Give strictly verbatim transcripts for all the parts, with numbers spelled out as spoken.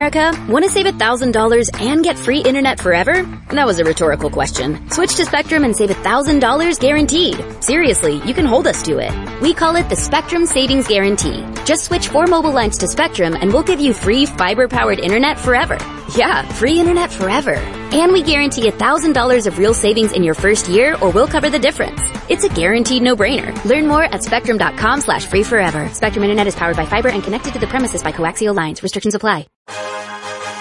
America, want to save one thousand dollars and get free internet forever? That was a rhetorical question. Switch to Spectrum and save one thousand dollars guaranteed. Seriously, you can hold us to it. We call it the Spectrum Savings Guarantee. Just switch four mobile lines to Spectrum and we'll give you free fiber-powered internet forever. Yeah, free internet forever. And we guarantee one thousand dollars of real savings in your first year, or we'll cover the difference. It's a guaranteed no-brainer. Learn more at spectrum dot com slash free forever. Spectrum Internet is powered by fiber and connected to the premises by coaxial lines. Restrictions apply.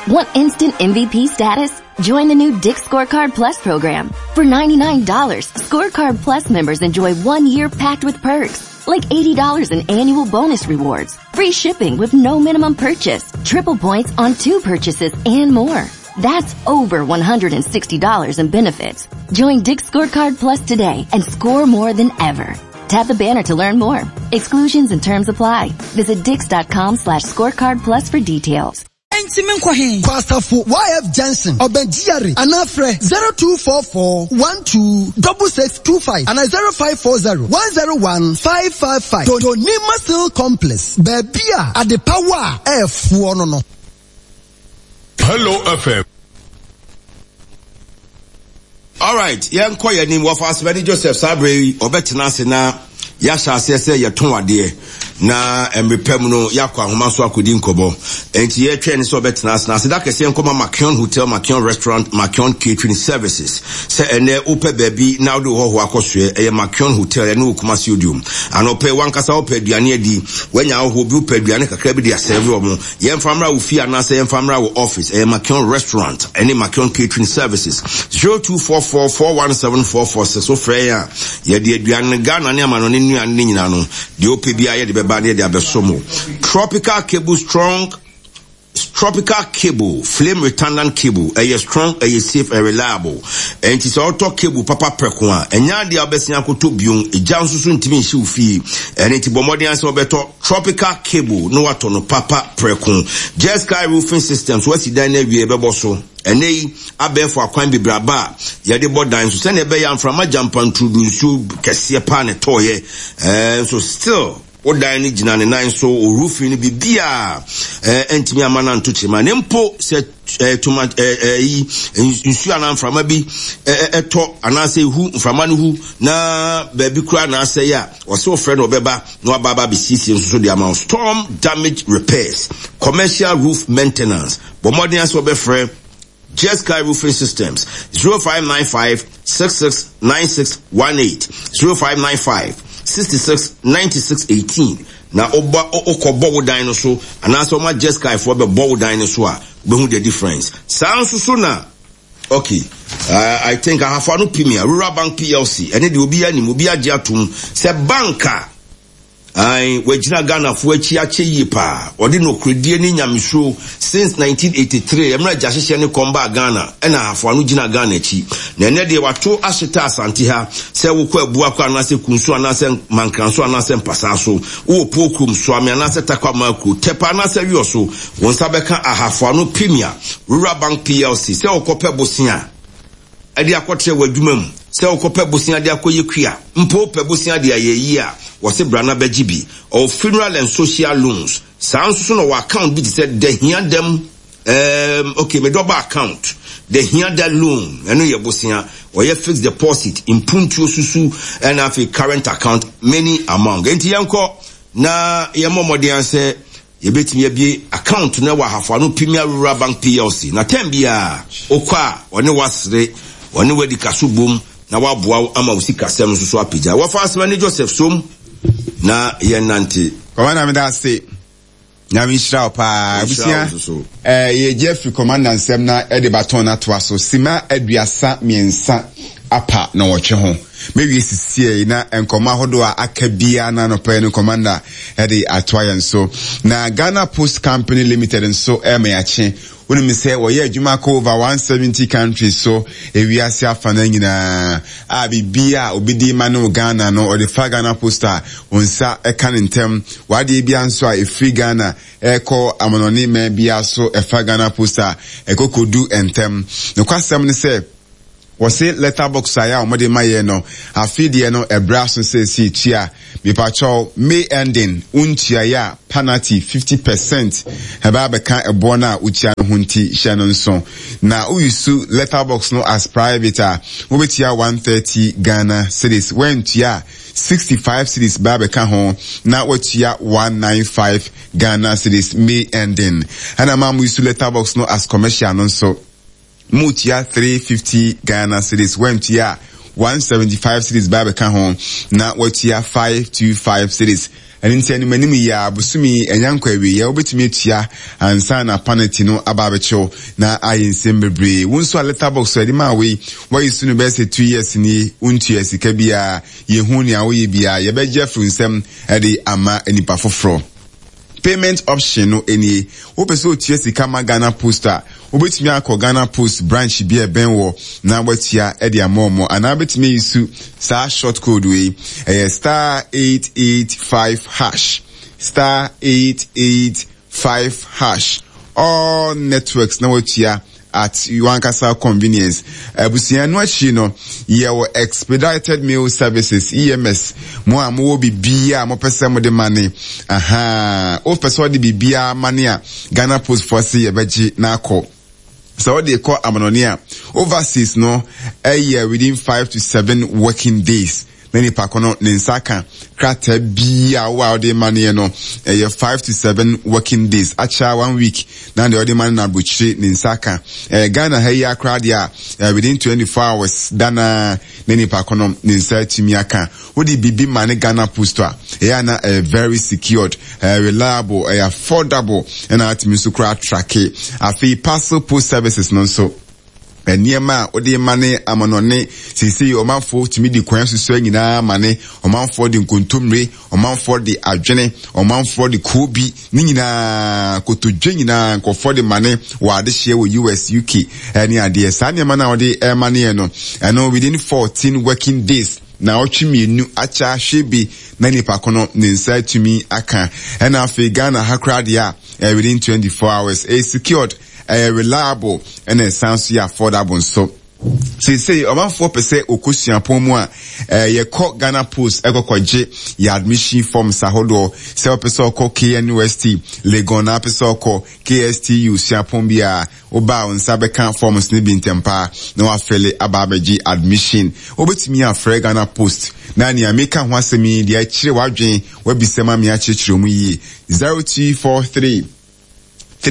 Want instant M V P status? Join the new Dick's Scorecard Plus program. For ninety-nine dollars, Scorecard Plus members enjoy one year packed with perks, like eighty dollars in annual bonus rewards, free shipping with no minimum purchase, triple points on two purchases, and more. That's over one hundred sixty dollars in benefits. Join Dick's Scorecard Plus today and score more than ever. Tap the banner to learn more. Exclusions and terms apply. Visit dicks dot com slash scorecard plus for details. Enti menkɔ he? Kɔ Asafo Y F Junction, ɔbɛn G R A, anaa frɛ zero two four four one two six six two five anaa zero five four zero one zero one five five five. Donima Steel Complex, baabi a adepawa a ɛɛfoɔ no no. Hello F M. Alright, yɛnkɔ yɛn anim. Wɔfa Asomani Joseph saa berɛ yi ɔbɛtena ase na yɛahyɛ aseɛ sɛ yɛtɔn adeɛ na mmerɛ mu no yɛakɔ ahoma so akɔdi nkɔmmɔ. Enti yɛtwɛn ne sɛ ɔbɛtena ase na aseda kɛseɛ nkɔma Makion Hotel, Makion Restaurant, Makion Catering Services. Sɛ ɛnɛ wopɛ baabi na wode wo hɔhoɔ akɔsoɛ, ɛyɛ Makion Hotel ɛne wɔ Kumasi Odiom. Anɔpɛ wankasa wopɛ aduane adi, wanya ahohoɔ bi, wopɛ aduane kakra bi de asɛve wɔ mo, yɛmfa mmra wo fie anaasɛ yɛmfa mmra wo office, ɛyɛ Makion Restaurant ɛne Makion Catering Services. zero two four four four one seven four four six, wofrɛ yɛn a yɛde aduane Ghana ne amanɔne nnuane ne nyinaa no deɛ wopɛ biara yɛde bɛba ne yɛde abɛso mo. Tropical Cable, strong tropical cable, flame retardant cable, ɛyɛ strong, ɛyɛ safe, ɛyɛ reliable. Ɛnti sɛ ɔtɔ cable papa prɛko a, ɛnyɛ adeɛ a wobɛsen akɔtɔ bio. Egya nso so ntumi nhyɛ wo fie. Ɛne nti bɔ mmɔden asɛ wɔbɛtɔ tropical cable na watɔ no papa prɛko. Just Sky Roofing Systems, wasi dan no awie, ɛbɛbɔ so. Ɛnɛ yi abɛɛfo akwan bebree aba a yɛde bɔ dan so sɛnea ɛbɛyɛ mframa gyampanturudu, nsuo kɛseɛ paa ne tɔɔyɛ ɛɛ nso still wo dan no gyina ne nan so. O roofing no biribiaa ɛɛ ntumi ama no anto kyerɛ ne mpo sɛ ɛɛ toma ɛɛ ɛyi nsuo anaa mframa bi ɛɛ ɛtɔ anaasɛ ehu mframa no hu na baabi koraa na asɛe a, ɔsɛ ɔfrɛ no, ɔbɛba na waba aba abɛsiesie nso so de ama wo. Storm damage repairs, commercial roof maintenance, bɔ mmɔden asɛ ɔbɛfrɛ Just Sky Roofing Systems, zero five nine five six six nine six one eight, zero five nine five sixty-six ninety-six eighteen. Na ɔba ɔkɔbɔ wo dan no so anaasɛ ɔma Just Sky foɔ bɛbɔ wo dan no so a, wobɛhu the difference. Saa nso so na okay, uh, I think Ahafo Ano Premier Rural Bank P L C, ɛne deɛ obi anim obi agye atom sɛ bank a ayi wagyina Ghanafoɔ akyi akyɛ yie paa. Ɔde nokoredie ne nyamesuro since nineteen eighty-three, mmerɛ agya hyehyɛ ne kɔn baa Ghana, ɛna Ahafo Ano gyina Ghana akyi. Na ɛnɛ deɛ wato ahyeta Asante ha sɛ wokɔ Abuakɔ anaasɛ Kunso anaasɛ Mankranso anaasɛ Mpasaa so, wowɔ Pokurom, Soame anaasɛ Takwa Makuro, Tɛpa anaasɛ Wiɔ so, wɔn nsa bɛka Ahafo Ano Premier Rural Bank P L C. Sɛ wokɔpɛ bosea ɛde akɔtrɛ wɔ adwuma mu, sɛ wokɔpɛ bosea de akɔyɛ kua mpo, wopɛ bosea de ayɛ yie a, wɔse bra na bɛgye bi. Ɔwɔ funeral and social loans. Saa nso so na ɔwɔ account bi te sɛ dahia dɛm um, okay, medɔba account, the hiada loan, ɛno yɛ bosea. Ɔyɛ fixed deposit, mpuntuo susu, ɛna afei current account, many among. Enti yɛnkɔ na yɛmmɔ mmɔden sɛ yɛbɛtumi abie account no wɔ Ahafo Ano Premier Rural Bank P L C. Na tɛm biara wokɔ a, ɔne wasere, ɔne wadi kaso bom na waboa wo ama wo sikasɛm nso so apagya. Wɔfa Asɛm ne Joseph som na yɛnante. Commander, meda ase. Nyame nhyira wo paa. Abusua, eh, yɛgye afiri commander nsɛm na ɛde baton no atoa so sima aduasa mmiɛnsa apa na wɔtwe ho mɛwie sisie na nkɔmmɔ ahodoɔ a aka biara na anɔpɛ no commander ɛde atoa yɛn so. Na Ghana Post Company Limited nso ɛma yɛakye. Wonim sɛ wɔyɛ adwuma kɔ over one hundred seventy countries so, ewiase afa no nyinaa a biribi a obi di ma no Ghana no, ɔde fa Ghana Post a, wɔn nsa ɛka ne ntɛm. Wadeɛ bia nso a ɛfiri Ghana ɛkɔ amanɔne mmaa bia so, ɛfa Ghana Post a, ɛkɔ kɔdu ntɛm. Nokwasɛm ne sɛ Wɔse letterbox a yɛ a wɔde ma yɛn no, afe deɛ no ɛbrɛ aso sɛ ɛsi tua. Mepakyɛw, May ending, wontuaeɛ a penalty fifty percent ɛbɛ abɛka ɛboɔ no a wotua no ho nti hyɛ no nso. Na woyusu letterbox no as private a, wobɛtua one thirty Ghana cedis. Woantua a, sixty five cedis bɛ abɛka ho na woatua one nine five Ghana cedis May ending. Ɛna ma moyusu letterbox no as commercial no nso, mutua three fifty Ghana cedis. Woantua a, one seventy five cedis bɛ abɛka ho na watua five two five cedis. Ɛno nti anim anim yi a bosome ɛnya nkɔ awieɛ wobɛtumi atua ansa na penalty no aba abɛkyew na ayɛ nsɛm bebree. Wo nso a letterbox a ɛde maa wei wayi so no bɛyɛ sɛ two years nie, wontua sika biara, yɛhu nea woyɛ biara, yɛbɛgye afiri nsɛm ɛde ama nipa foforɔ. Payment option no nie. Wopɛ sɛ otua sika ma Ghana Post a, wobɛtumi akɔ Ghana Post branch bi a ɛbɛn wɔ na watua ɛde ama ɔmo, anaa wobɛtumi ayi su saa short code wei, ɛyɛ star eight eight five hash, star eight eight five hash, all networks na watua at wankasa convenience. Abusua no akyi no, yɛwɔ expedited mail services, E M S. Mo a mowɔ biribiara a mopɛ sɛ mode ma ne, aha, wopɛ sɛ wode biribiara ma ne a, Ghana Post foɔ se yɛbɛgye na akɔ. Sɛ wode kɔ amanɔne a, overseas no ɛyɛ within five to seven working days. Na nipa ko no ne nsa ka krataa bi a wo a wode ma ne no ɛyɛ five to seven working days, akyɛ one week na deɛ ɔde ma no na aburokyire ne nsa ka. Ɛɛ Ghana ha yi akora deɛ a, within twenty-four hours dana na nipa ko no ne nsa atumi aka. Wode biribi ma ne Ghana Post a, ɛyɛ ana ɛyɛ very secured, ɛyɛ reliable, ɛyɛ affordable, ɛna atumi nso kora atrake. Afei parcel post services no nso, nneɛma a wode ma ne amanɔne seesei ɔmanfoɔ tumi di kwan soso nyinaa ma ne, ɔmanfoɔ de nkontommire, ɔmanfoɔ de adwene, ɔmanfoɔ de koobi, ne nyinaa kotodwe nyinaa nkɔfoɔ de ma ne wɔ adehyeɛ wɔ U S, U K ɛne adeɛ. Saa nneɛma no a wode ɛma ne yɛ no, ɛno within fourteen working days na ɔtwe mmienu akyɛ ahwɛ bi na nipa ko no ne nsa atumi aka. Ɛna afei Ghana ha koraa deɛ a, within twenty-four hours, ɛyɛ secured, ɛyɛ reliable, ɛna ɛsan so yɛ affordable nso. Seesei ɔmanfoɔ pɛ sɛ okɔ suapɔn mu a, yɛkɔ Ghana Post ɛkɔkɔgye yɛ admission forms ahodoɔ. Sɛ wopɛ sɛ ɔkɔ K N U S T, Legon, na wopɛ sɛ ɔkɔ K S T U suapɔn bi a, woba a wo nsa bɛka forms no bi ntɛm paa na wafɛle aba abɛgye admission. Wobɛtumi afrɛ Ghana Post na nea meka ho asɛm yi deɛ akyerɛ w'adwen, wabisa ma me akyerɛkyerɛ mu yie. zero two four three